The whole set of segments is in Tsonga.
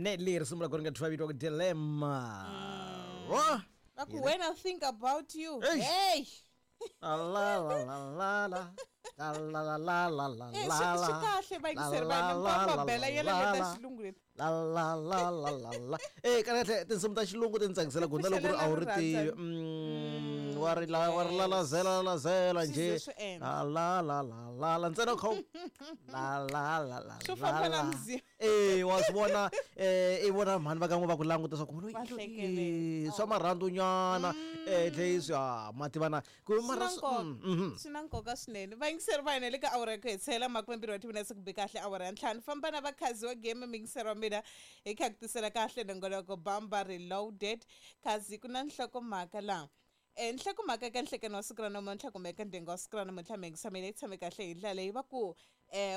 Nelly risimu ra ku ri nga thyiwa vito ku Dilemma. Wa Va ku when I think about you. Eish. Hey. La la la la la la. La la la la la la Eh, la swi la. swi kahle vayingiseri va hina La, la, mi la, bela la, yela la, leta la. xilungu leti. La la la la la la. Eh, kahle kahle tinsimu ta xilungu ti ni tsakisela ku na loko ri a wu ri tivi. Wa ri la wa ri lalazela lalazela Swi njhe. ze swi endla. La la la la la la ntsena u kha u la la la la. Swo la, famba na la. mzimba. Eh, wa swi vona eh i vona mhani va kan'we va ku languta swa ku Va hlekelela. swa marhandu nyana eh tlhe swi ah ma tivana ku Swi mara na nkoka. Swi na nkoka swinene vayingiseri va hina le ka awara ya ku hetisela makumembirhi wa timinetse ku bi kahle awara ya ntlhanu famba na vakhazi wa game muyingiseri wa mina hi kha ku tisela kahle nongoloko bamba reloaded khazi ku na nhlokomhaka laha nhlokomhaka ka nhlekano wa siku ra namuntlha kumbe eka ndyangu wa siku ra namuntlha miyingisa mina yi tshame kahle hi ndlela leyi va ku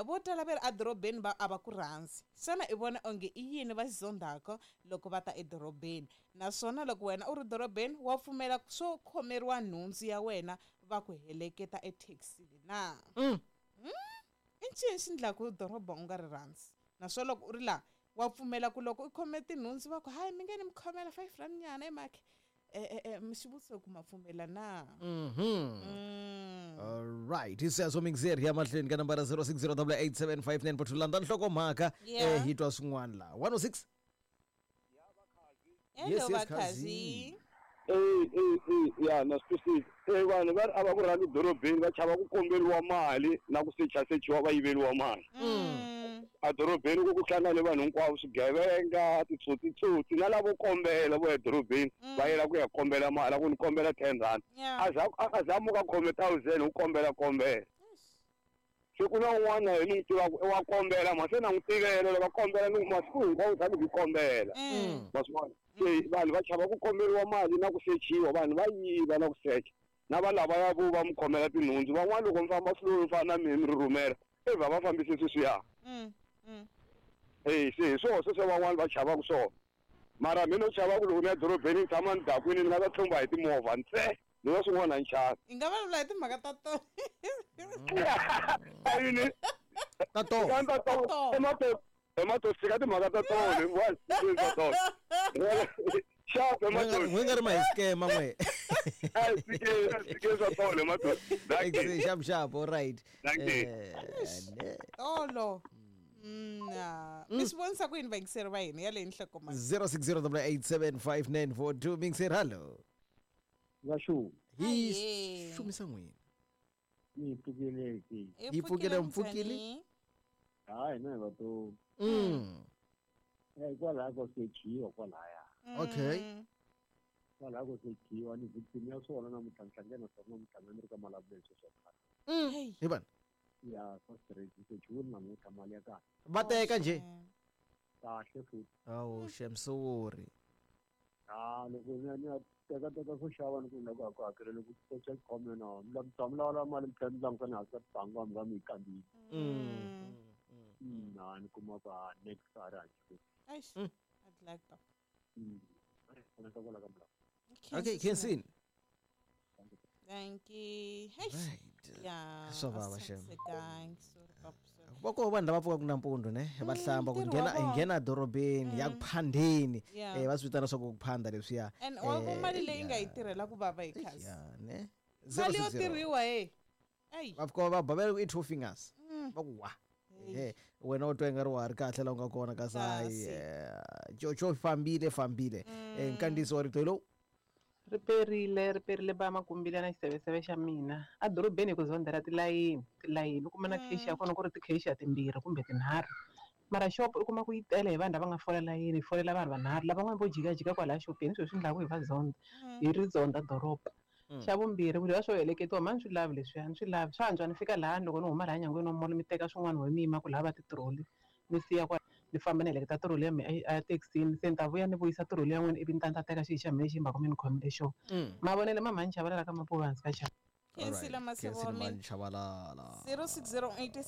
vo tala va ri edorobeni va a va ku rhandzi xana i vona onge i yini va xi zondhaka loko va ta edorobeni naswona loko wena u ri dorobeni wa pfumela swo khomeriwa nhundzu ya wena va ku heleketa ethekisini na i ncini xi ndlaku doroba u nga ri rhandzi naswona loko u ri laha wa pfumela ku loko u khome tinhundzu va ku hayi mi nge ni mi khomela 5 rand nyana emaki xivutiso ku ma pfumela na Alright, isiyaswo mixer ya mahlweni ka nambara 06088759 landa nhlokomhaka Yeah. eh hi twa swin'wana la 106 Hello, Yes, yes, Vakhazi. Eh, eh, eh, ya na swi twisisa. Eh, vanhu va ri a va ku rhandzi dorobeni va chava ku komberiwa mali na ku sechasechiwa va yiveriwa mali. A dorobeni ku ku hlangane vanhu hinkwavo swigevenga titsotsitsotsi na lavo kombela vo ya dorobeni va yela ku ya kombela mali a ku ni kombela 10 rand. Yeah. A za a za muka khome 1000 u kombela kombela. Se ku na un'wana hi ni n'wi tivaka wa kombela ma se na n'wi tivela loko a kombela ni masiku hinkwawo tshami ku kombela. Ma swi vona? Se vanhu va chava ku komberiwa mali na ku sechiwa vanhu va yiva na ku secha na va lavaya vo va mi khomela tinhundzu van'wana loko mi famba slow mi fana na mina mi ri rhumela e va va fambise sweswiya. E se hi swona sweswo van'wana va chavaka swona mara mina no chava ku loko ni ya dorobeni ni tshama ni dakwini ni nga ta tlumba hi timovha ntse ni va swin'wana a ni chavi. Hi nga vulavula hi timhaka ta tona. A yini ta tona ta tona emato tshika timhaka ta tona ta tona xapu emato n'we nga ri ma hi scam n'we a hi tshikeni a hi tshikeni swa tona emato Exe, xap xap all right Dankie. Eh, Tolo. Mi swi vonisa ku yini vayingiseri va hina ya leyi nhlokomhaka 0608875942 mixer hello Vashu, hi Ahee. xumisa n'wina ni pfukile ke. Hi pfukile, mpfukile. njhani? Hayi na hi va to. Eh kwalaya ko sechiwa kwalaya. Okay. Kwalaya ko sechiwa ni victim ya swona namuntlha ni hlangene na swona namuntlha ni ri ka malavulelo sweswo khale. Hey. hi vana Ya swa straight sechiwile namuntlha mali ya kahle. va teka njhe Kahle futhi. awu xemsori Ah loko ni ya ni ya teka teka swo xava ni ku ni lava ku hakelela ku secha khome na mi la mi lawula mali mi tlhela mi languta ni hansi ka tibangi wa mi va mi yi kambile. Na ni kuma ku ah next a ri hansi. Eish. I'd like that. Pfuneta kwala ka milawu. Okay khensini Thank you. Eish. Right. Yeah. Swa vava, a swi xem. tshamisekangi. Sorry, papa, sorry. Va koho vanhu lava pfukaka nampundzu ne va hlamba ku ntirho nghena wa hi vona. nghena dorobeni ya ku phandeni Yeah. eh va swi vitana swa ku ku phanda leswiya And wa ku Eh, mali leyi nga yi tirhela ku vava hi khasi. ya ne Mali yo 060. tirhiwa hey. Ey. Va fika va babela ku i two fingers va ku wa ehe wena u twa ingari wa ha ri kahle la u nga kona kasi hayi Kasi. coco fambile fambile nkandziyiso wa rito lowu Ri perile ri perile ba makumbile na xiseveseve xa mina a dorobeni hi ku zondhela tilayini tilayini u kuma na cash ya kona ku ri ti-cash timbirhi kumbe tinharhu mara shop u kuma ku yi tele hi vanhu lava nga fola layini yi folela vanhu vanharhu lavan'wana vo jikajika kwalaya xopeni sweswi swi endlaku hi va zonda hi ri zonda doroba. Xa vumbirhi ku leswiya swo heleketiwa ma ni swi lavi leswiya ni swi lavi swa antswa ni fika lahani loko ni huma laha nyangweni wa mall mi teka swin'wana ho mi yima ku lava titiroli ni siya kwala ni famba ni heleketa tiroli ya mina a thekisini se ni ta vuya ni vuyisa tiroli ya n'wina ivi ni ta ni ta teka xi xa mina lexi mhaka mi ni khomile xona mavonelo ma mhani chavelela ka mapuva hansi ka xava Khensile Masebo wa mina. Chabalala 06087